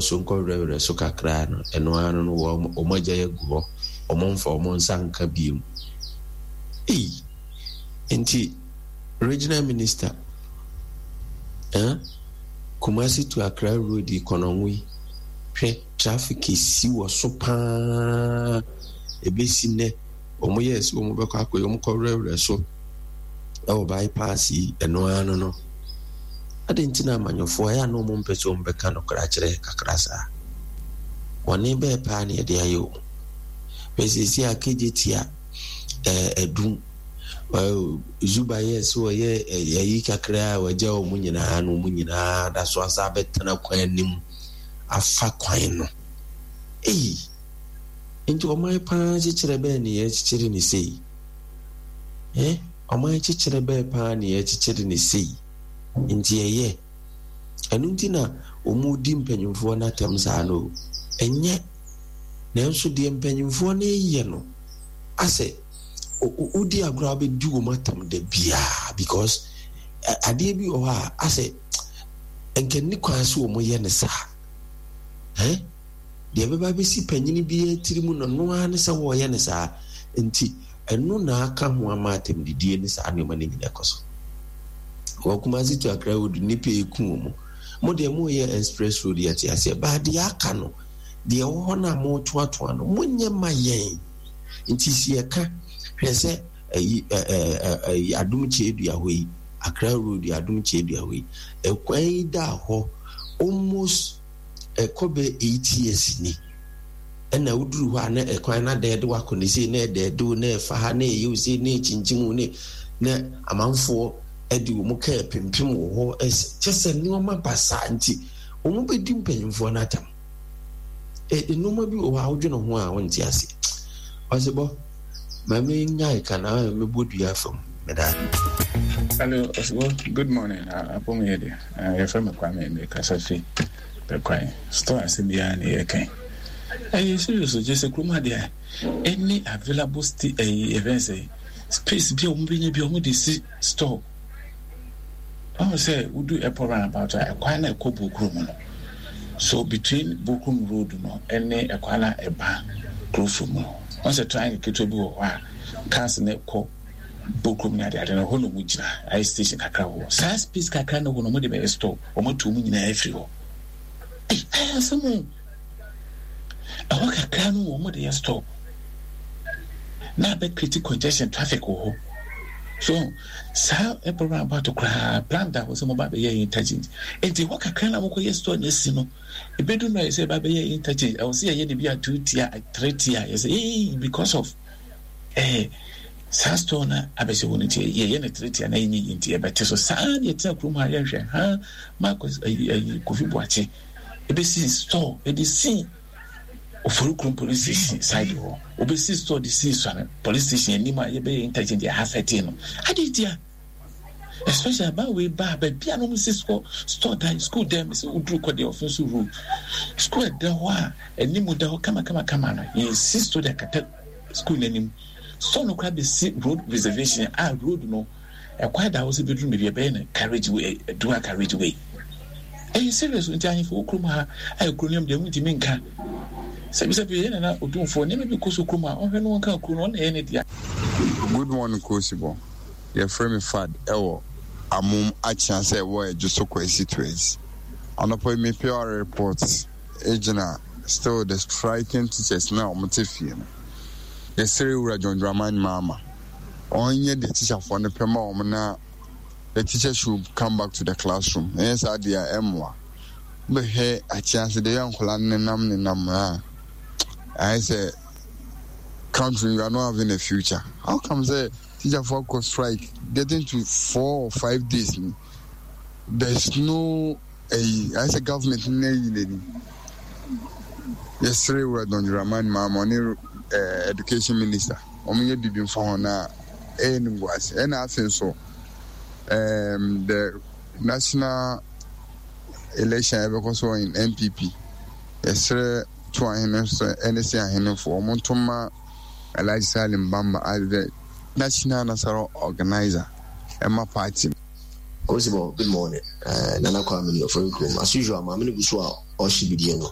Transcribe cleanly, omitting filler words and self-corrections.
so nkɔwerɛwerɛ so kakra no, ɛno ara no wɔn wɔn agyae agu hɔ, wɔmfa wɔn nsa nka bio. Ei! Nti regional minister, eh? Kumasi to Accra road yi kɔnɔngo yi, hwɛ traffic esi wɔ so paa, ebesi nnɛ wɔn yɛɛ sɛ wɔn bɛkɔ akɔyɛ wɔn kɔwerɛwerɛ so ɛwɔ bypass yi, ɛno ara no no. Adɛn nti na amanyɔfoɔ ɛyɛ a na wɔn mpɛ sɛ wɔn bɛka nokorɛ akyerɛ kakra saa? Bɔne bɛɛ paa na yɛde ayɛ wɔn. Hwɛ seesei a KJT a ɛɛ adum ɛɛ Zuba yɛ sɛ ɔyɛ ɛyi kakra a wagya wɔn nyinaa na wɔn nyinaa da so asa abɛtena kwan anim afa kwan no. Eyi nti ɔman paa kyekyerɛ bɛɛ ne yɛkyekyere ne sei. Eh? Ɔman kyekyerɛ bɛɛ paa ne yɛkyekyere ne sei. Nti ɛyɛ. Ɛno nti na wɔredi mpanyimfoɔ no atɛm saa no o. Ɛnyɛ. Nanso deɛ mpanyimfoɔ no reyɛ no, asɛ wodi agorɔ a wobɛdi wɔn atɛm da biara because adeɛ bi wɔ hɔ a asɛ nka nni kwan sɛ wɔyɛ no saa. Eh? Deɛ ɛbɛba bɛsi panyini biara tiri mu no, ɛno ara ne sɛ wɔreyɛ no saa. Nti ɛno na aka ho ama atɛmdidie ne saa nneɛma no nyinaa kɔ so. Wɔ Kumasi to Accra road nnipa eku wɔn. Mo deɛ moreyɛ express road yɛte aseɛ baa deɛ aka no deɛ ɛwɔ hɔ no a moretoatoa no monyɛ ma yɛn. Nti si yɛka hwɛ sɛ ɛyi ɛɛ ɛyi Adom Kyedua hɔ yi Accra road Adom Kyedua hɔ yi ɛkwan yi da hɔ almost ɛkɔ bɛ 8 years ni. Ɛna woduru hɔ a na ɛkwan no adɛɛde wo akɔ ne sei na ɛdɛɛde wo na ɛfa ha na ɛyɛ wo sei na ɛkyinkyim wo ne na amanfoɔ de wɔn kaa pimpim wɔ hɔ kyɛ sɛ nneɛma basaa nti wɔn bɛdi mpanyinfoɔ no atam. Nneɛma bi wɔ hɔ a wodwene ho a wonte aseɛ. Ɔsebɔ ma menyae ka na mebɔ dua fam meda. Hello, Ɔsebɔ. Good morning. Apom yɛ de. Yɛfrɛ me Kwame, mekasa fi Bɛkwae. Store asɛm yi ara na yɛreka yi. Ɛyɛ serious o, kyerɛ sɛ kurom ha deɛ any available sti ɛyi yɛfrɛ no sɛ space bi a wɔn bɛnya bi a wɔn de si store. Ɔhu sɛ wodu airport roundabout a ɛkwan na ɛkɔ Bokuro mu no. So between Bokrom road no ɛne ɛkwan na ɛba Kurofo mu no. Wɔn sɛ triangle ketewa bi wɔ hɔ a cars no kɔ Bokrom ne adeade no hɔ na wɔn gyina ayɛ station kakra wɔ hɔ. Saa space kakra na hɔ no wɔn de bɛyɛ store. Wɔn atu wɔn nyinaa afiri hɔ. Ei, ayɛ asɛm o. Ɛhɔ kakra no wɔn de yɛ stop. Na abɛ create congestion traffic wɔ hɔ. So saa ɛbɔ round about koraa plan da hɔ sɛ mo ba bɛyɛ interchange. Nti hɔ kakra na mokɔ yɛ store na asi no. Ebedu mmerɛ yɛ sɛ ɛba bɛyɛ interchange. Ɛwɔ sɛ yɛyɛ ne bi a two tier, three tier. Yɛ sɛ ee because of eh saa store no abɛhyɛ hɔ no nti yɛyɛ no three tier na yɛnyɛ yi nti yɛbɛte so saa na yɛtena kurom ha yɛnhwɛ ha Marcus ayi ayi Kofi Boakye ebesi store ɛde si Ofori kurom police station side hɔ obesi store de si Suame police station anim a yɛbɛyɛ interchange ɛha sɛte no ade tia especially aban wei ba baabi a na wɔn si store store dan school dan sɛ woduru kɔ deɛ ɔfin so road school ɛda hɔ a anim da hɔ kama kama kama no yɛsi store de akata school n'anim store no koraa bɛsi road reservation a road no ɛkwan da hɔ sɛ bɛduru baabi ɛbɛyɛ no carriage way dual carriage way ɛyɛ serious nti ahemfo wɔ kurom ha a ɛkuro no deɛ wontumi nka sɛbisɛbi yɛ nana otumfoɔ nneɛma bi kɔ so kurom a ɔhwɛ no wɔnka kuro no ɔna ɛyɛ ne dea. Good morning Kosibɔ, yɛfrɛ me Fad ɛwɔ Amom Akyea sɛ ɛwɔ Adwoso constituency. Anɔpa yi me PR report gyina still the striking teachers no a wɔte fie no. Yɛsrɛ Wura John Dramani Mahama ɔnyɛ deɛ teacherfoɔ no pɛ ma wɔn na the teacher should come back to the classroom. Ɛnyɛ saa deɛ a ɛmmoa. Wobɛhwɛ Akyea ase deɛ ɛyɛ nkwadaa no nenam nenam a ayɛ sɛ country we are not having a future. How come sɛ teacherfoɔ akɔ strike getting to 4 or 5 days ni there's no ɛyi ayɛ sɛ government no ayi n'ani. Yɛsrɛ Wura John Dramani Mahama ɔne eh, education minister wɔn nyɛ biribi mfa ho na ɛyɛ no ngu ase. Ɛna afei nso um, the national election a ɛbɛkɔ so in NPP yɛsrɛ to ahene nso ɛne se ahenefo wɔn nto ma Alhaji Salim Bamba as the national nasara organizer ɛma party. Kosibɔ, good morning. Uh, Nana Kwame ni Ofori Kurom. As usual, maame no gu so a ɔrehye bidie no.